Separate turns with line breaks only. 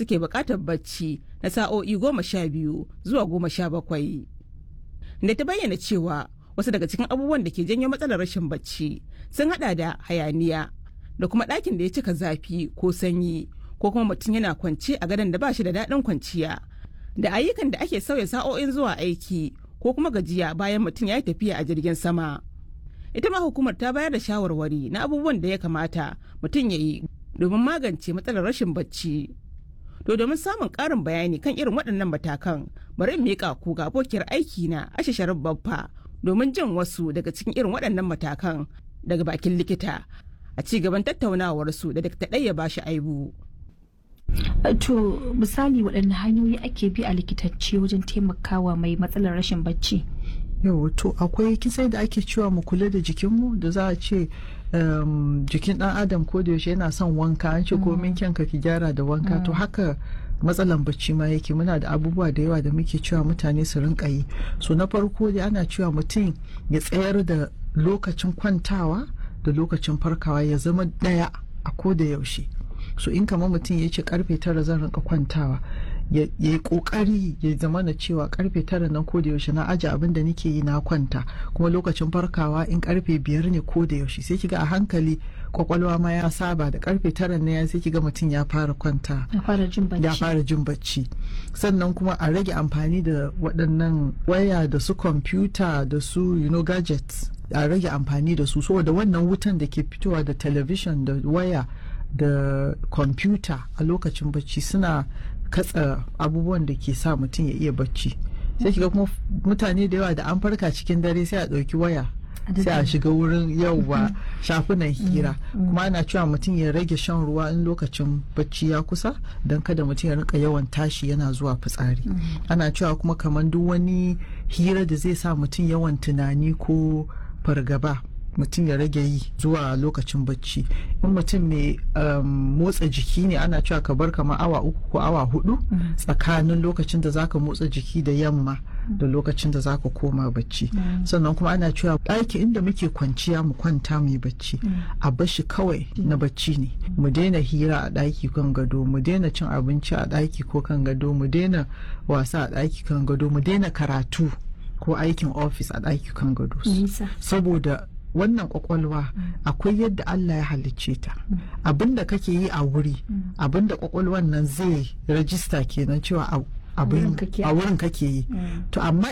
suke buƙatar bacci na sa'o'i 12 zuwa 17. Da ta bayyana cewa wasu daga cikin abubuwan da ke janyo matsalar rashin bacci sun hada da hayaniya da kuma ɗakin da ya cika zafi ko sanyi ko kuma mutum yana kwance a gadon da ba shi da daɗin kwanciya da ayyukan da ake sauya sa'o'in zuwa aiki ko kuma gajiya bayan mutum ya yi tafiya a jirgin sama. Ita ma hukumar ta bayar da shawarwari na abubuwan da ya kamata mutum ya yi domin magance matsalar rashin bacci. To domin samun ƙarin bayani kan irin waɗannan matakan, bari in miƙa ku ga abokiyar aiki na Asha Sharif Baffa domin jin wasu daga cikin irin waɗannan matakan daga bakin likita a ci gaban tattaunawarsu da Dr. Ɗaya Bashi Aibu.
To misali, waɗanne hanyoyi ake bi a likitacce wajen taimakawa mai matsalar rashin bacci?
Yau, to akwai kisai da ake cewa mu kula da jikinmu, da za a ce jikin dan adam ko da yaushe yana son wanka, an ce komin kyanka ki gyara da wanka. To haka matsalan bacci ma yake. Muna da abubuwa da yawa da muke cewa mutane su rinka yi. So na farko dai ana cewa mutum ya tsayar da lokacin kwantawa da lokacin farkawa ya zama daya a ko da yaushe. So in kamar mutum ya ce karfe 9 zan rinka kwantawa, ya yi kokari ya zama na cewa karfe 9 nan ko da yaushe na aje abin da nake yi na kwanta, kuma lokacin farkawa in karfe 5 ne ko da yaushe, sai kiga a hankali kwakwalwa ma ya saba da karfe 9 ne ya, sai kiga mutum ya fara kwanta.
Ya fara jin bacci.
Ya fara jin bacci. Sannan kuma a rage amfani da waɗannan waya da su kwamfuta da su gadgets, a rage amfani da su, saboda wannan wutan da ke fitowa da television da waya da kwamfuta a lokacin bacci suna katsa abubuwan da ke sa mutum ya iya bacci. Sai kiga kuma mutane da yawa da an farka cikin dare sai a ɗauki waya, sai a shiga wurin yauwa shafunan hira. Kuma ana cewa mutum ya rage shan ruwa in lokacin bacci ya kusa, don kada mutum ya rinka yawan tashi yana zuwa fitsari. Ana cewa kuma kamar duk wani hira da zai sa mutum yawan tunani ko fargaba, mutum ya rage yi zuwa lokacin bacci. In mutum mai motsa jiki ne, ana cewa ka bar kamar awa 3 ko awa 4 tsakanin lokacin da zaka motsa jiki da yamma da lokacin da zaka koma bacci. Sannan kuma ana cewa ɗaki inda muke kwanciya mu kwanta mu yi bacci, a bashi kawai na bacci ne. Mu daina hira a ɗaki kan gado, mu daina cin abinci a ɗaki ko kan gado, mu daina wasa a ɗaki kan gado, mu daina karatu ko aikin ofis a ɗaki kan gado, saboda wannan kwakwalwa akwai yadda Allah ya halicce ta. Abinda kake yi a wuri, abinda kwakwalwan nan zai rajista kenan cewa a wurin kake yi. To amma